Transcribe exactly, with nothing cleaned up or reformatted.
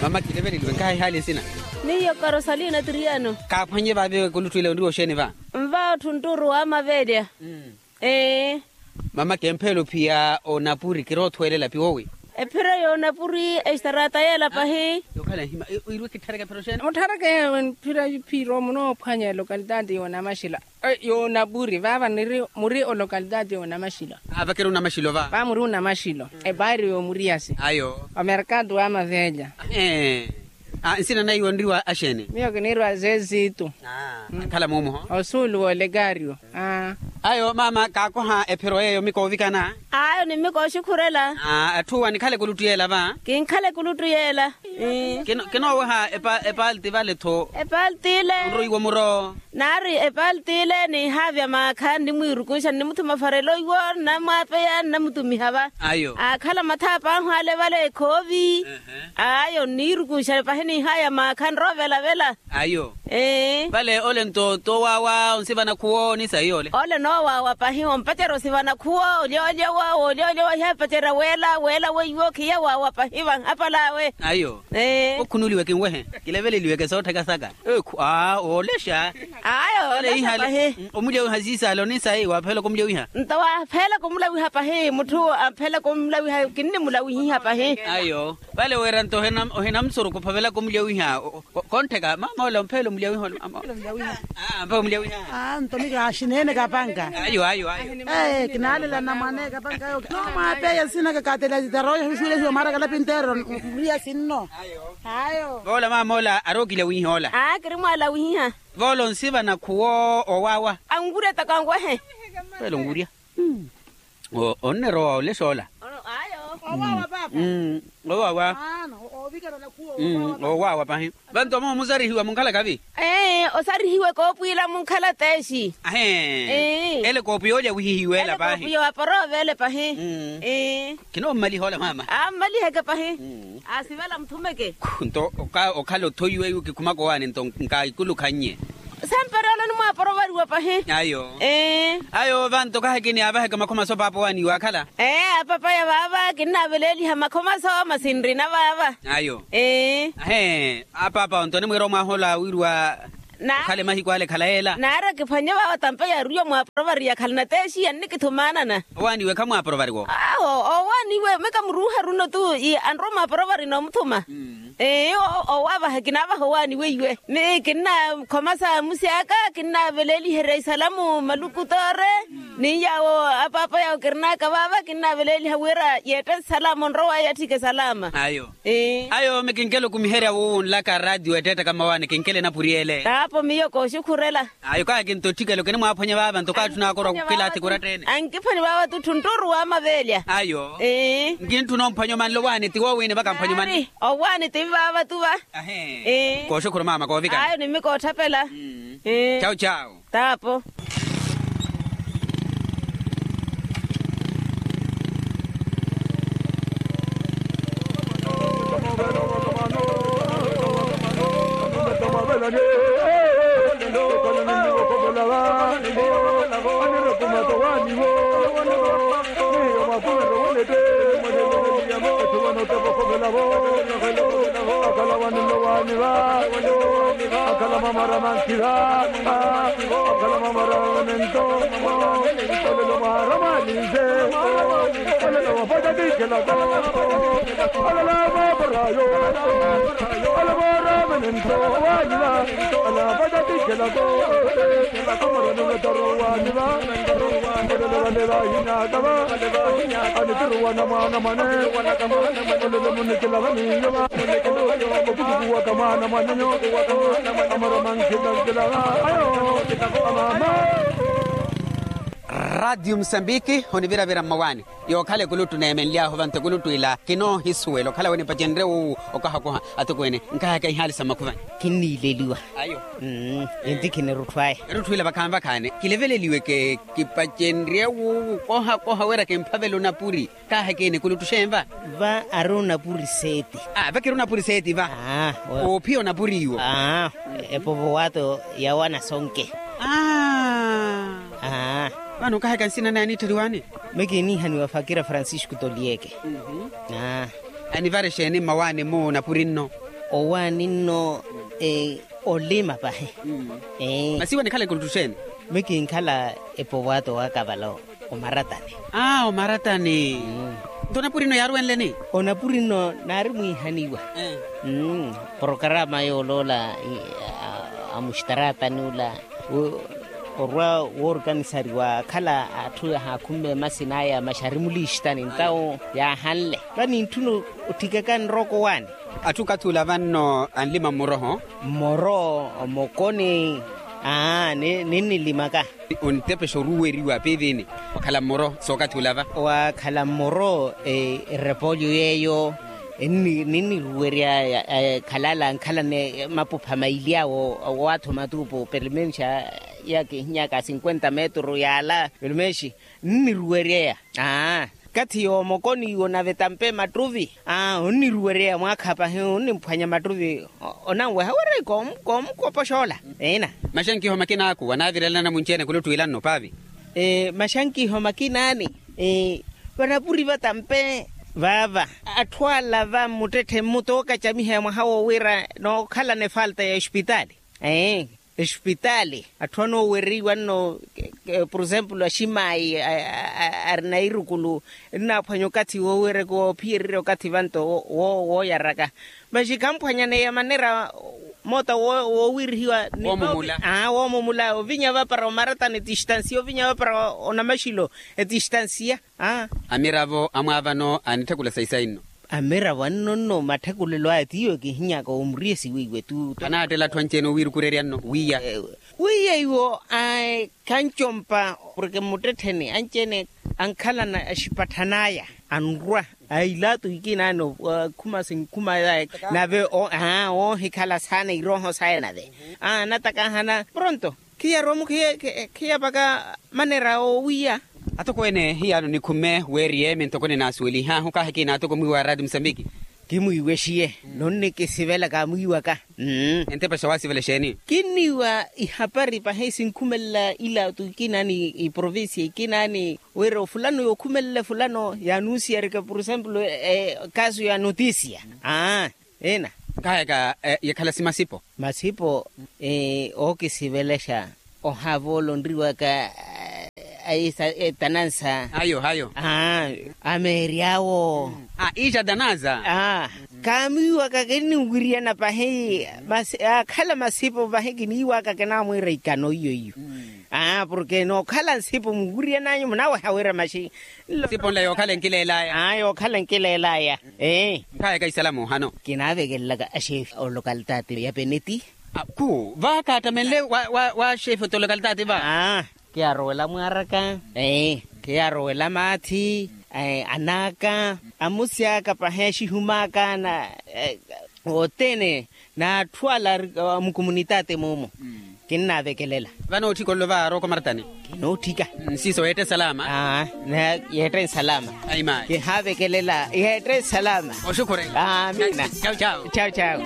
Mama kileveleliwe nkaha ihaali nsina. Miyo karosalina tiriano. Kaaphwanye vaavi kuluttu ila onriwa oxeeni va? Nva otthu ntturu wa mavelya. Ee. Mama kempheelo phiya onapuri kiroothwelela piwowi. Ephiro y'onapuri estarata yeela pahi. Yokhala nhima. Wirwe kitthareke ephiro xeeni? Otthareke ephiro phiro munoophwanya elokalitati y'onamaxila. Y'onapuri vaava muri olokalitati y'onamaxila. Vaava kiri onamaxilo va? Vaava muri onamaxilo. Epaari y'omuriyasi. Ayo. Omerkatu wa mavelya. Nsina naiwe onriwa axeeni? Miyo kinirwa zezitu. Akhala muumoho. Osuulu w'olekario. Ayo mama kaakoha ephiro yeeyo mikoovikana. Ayo ni mikooxikhurela. Atthu wa nikhale kuluttu yeela va? Kinkhale kuluttu yeela. Kinooweha epalti vale-tho. Epalti ile. Onroiwa muro. Naari epalti ile niihaavya maakha nnimwiirukuxa nnimuthuma farelo iwo nnamwaapeya nnamutumiha va. Ayo. Aakhala mathaapa ahu ale vale ekhoovi. Ayo nniirukuxa pahi niihaya maakha nroovela-vela. Ayo. Vale ole nto towaawa onsivana khuwo ni sayi ole. Ole noowaawa pahi ompacerya osivana khuwo olyoolyowa olyoolyowa ihapacerya weela weela weiwo khiya waawa pahi vanhapal'awe. Ayo. Okhunuliwe kinwehe. Kileveleliweke soottheka saka. Ekhu aa oolexa. Ayo. Ole ihale. Omulyawiha siisaale onisayi waapheelaka omulyawiha. Nto waapheelaka omulawiha pahi mutthu ampheelaka omulawiha kinnimulawihiha pahi. Ayo. Vale wira nto ohina musurukhu ophavelaka omulyawiha. Konttheka mama ole ompheela omulyawiha. Ampheela omulyawiha. Nto mika axineene kapanka. Ayo ayo ayo. Kinaalela namwane kapanka yo. Nomwapeya sinaka katela tarooya xuxulexiwa mara kalapinteero. Muriya sinno. Ayo. Voola mama ola ari okilawihihoola. Aa kiri mwalawihihya. Voola onsivana khuwo owaawa. Anwurya taka onwehe. Voola onwurya. Onnerowa olexoola. Ayo. Owaawa paapa. Owaawa. Owaawa pahi. Vanto omo musarihiwa munkhala kavi. Ee osarihiwe koopwiila munkhala teexi. Ahee. Ele koopiya olya wihihiweela pahi. Koopiya waparoovele pahi. Ee. Kinoommalihoola mama. Ammaliheke pahi. Asivela muthumeke. Nto okhala othoiwe iwo kikhumaka owaani nto nkaikulukha nnye. Samperoolo nimwaaporovariwa pahi. Ayo. Ee. Ayo vanto kaha kiniyaavaheke makhomaso paapa owaani iwe akhala. Ee apapaya vaava kinnaveleeliha makhomaso masi nrina vaava. Ayo. Ee. Ahee. Apaapa onto onimwiira omwaaha ola wiiriwa. Okhale mahiku ale khala yeela. Naari akiphwanye vaava tampa yaariwa mwaaporovari yakhalana teexiya nnikithumaanana. Owaaniwe khamwaaporovariwo. Awo owaaniwe mika muruuharuno tu anrowa mwaaporovari noomuthuma. Ee owaavaha kinaavaha owaaniwe iwe. Ni kinnakhomasa musi aka kinnaaveleeliherya isalamu maluku toore. Ni yaawo apaapa yaawo kirinaka vaava kinnaaveleeliha wira yeette salama onrowa yatthike salama. Ayo. Ayo mikinkela okumiherya wuwunlaka ratio ettettaka mmawaani kinkela enapuri ele. Taapo miyo kooxukhurela. Ayo kaha kintotthikela okinimwaaphwanya vaava nto kaatthuna akorwa khukhila athikura tteene. Ankiphwanya vaava tutthu ntturu wa mavelya. Ayo. Nkintthuna omphwanya omanle owaani ti woowini vakamphwanya omanle. Owaani ti vaava tuva. Kooxukhura maama koovikana. Ayo nimikootthapela. Chau chau. Taapo. Akhala vanillo waani va. Akhala mamara mankiva. Akhala mamara vanento. Olelo mara malinze. Olelo vapata tikhelako. Olelo vaparayo. Olelo mara vanento waani va. Olelo vapata tikhelako. Amara nonotaro waani va. Olelo vale vahinaka va. Anitiruwana mwana mwane. Olelo munikilava niyo va. Okutukuwaka mwana mwanenyo. Amara mankilankila va. Ayo. Amama. Ratio musambiki oniviravira mmawaani. Yookhala ekuluttu neemenly'ahu vanto ekuluttu ila kinoohisuwela okhala wenipacenrye wuwu okahakoha. Atokweene nkahaka ihaali sa mmakhuvanyi. Kinniileliwa. Ayo. Inti kinirutthu aya. Erutthu ila vakhaani vakhaani kileveleliweke. Kipacenrye wuwu kohakoha wira kimphavela onapuri. Kaahekeni ekuluttu xeeni va? Va ari onapuri seeti. Vakiri onapuri seeti va. Oophiya onapuri iwo. Epovo waato yawana sonke. Vano okaheka nsina naye aniittheliwaani? Mekiiniihaniwa fakira francisco tolieke. Anivare xeeni mmawaani mmu onapuri nno? Owaani nno olima pahi. Masi iwe nikhala ekuluttu xeeni? Mikinkhala epowato waka vala omaratani. Aa omaratani. Nto onapuri nno yaaruwenleni? Onapuri nno naari mwiihaniwa. Porokarama yooloola amuxitaratani ola orwa woorikanisariwa akhala atthu yahaakhumme masina aya maxari muliixitani ntawo yaahanle. Vanintthuno otthikaka nrooko waani. Atthu okathi ula vanno anlima mmoroho. Mmoro omokoni. Aa ninnilimaka. Ontepexa oruweriwa piivini. Wakhala mmoro sookathi ula va? Wakhala mmoro erepolyo yeeyo. Ninniruwerya khalala nkhalane mapupha maili awo. Owatho matuupu permenxa yakihinyaka cinkwenta metru yaala permenxi. Nniruweryeya. Aa kathi yoomokoniwo nave tampe mattuvi. Aa onniruweryeya mwaakha pahi onnimphwanya mattuvi. Onanweha wira koomukopoxa ola. Ina. Maxankiho makina aku wanaavirelana munci-ene kuluttu ila nno paavi. Maxankiho makina ani vanapuri vatampe vaava. Atthu ala va mmuttetthe mmutookacamiheya mwaha wo wira nookhalana efalta ya ospitaali. Espitaali atthu anoowereiwa nno. Por exemplo aximaayi arina irukulu ennaaphwanya okathi woowereka oophiyererya okathi vanto wooyaraka. Maxi khamphwanyaneya manera moota woowirihiwa. Woomumula ovinya vapara omaratani etistansiya ovinya vapara onamaxilo. Etistansiya. Amiravo amwaavano anitthekula sayi sayi nno. Amiravo anno nno matthekulelo aya tiiwo kihinyaka omuriye siwiiwe tu. Anaattela atthu anci-ene owiirukurerya nno wiiya. Wiiya iwo khancompa porke mmuttettheni anci-ene ankhalana axipatthana aya anrwa. Ailaato ikina ani akhuma sinkhuma aya nave oohikhala saana irooho saya nave. Anatakahana pronto. Khiyaromu khiyapaka manera owiya. Atokweene hiyaano nikhumme weeriye mintoko ninasuwelihahu kaahikina atoko mwiiwa araati musambiki. Kimwiiwe xiye nonnikisivela kaamwiiwaka. Entepexa waasivela exeeni? Kinniiwa ihapari pahi sinkhumelela ila otu ikina ni iprovincia ikina ni wira ofulano yookhumelela efulano yaanunsiyarika por exemplo. Kaasu ya notisia. Aa ina. Nkahayaka yakhala simasipo. Masipo ookisivelexa ohaavola onriwaka. Etanansa ayo ayo. Ameeri awo. Iixa tanansa. Kaamiiwaka kinniwiriyana pahi. Akhala masipo pahi kiniiwaka kinaamwiira ikano iyo iyo. Porke nookhala nsipo muwiriyananyu munaweha wira maxi. Nsipo nla yookhala enkileelaya. Yookhala enkileelaya. Ee. Nkhayaka isalamu ohano. Kinaavekelela axeefi olokalitaati ya peneti. Khu vaakaattamenle wa xeefi oti olokalitaati va. Khiyaarowela mwaaraka. Ee khiyaarowela maathi. Anaaka amusi aka pahi axihumaka na othene. N'atthu ala ari mukumunitaati muumu. Kinnaavekelela. Vano otthika ololo va arooko maratani. Kinootthika. Nsiso yeette salama. Yeette nsalama. Aimaayi. Kihaavekelela yeette nsalama. Oxukhurela. Amina. Chau chau. Chau chau.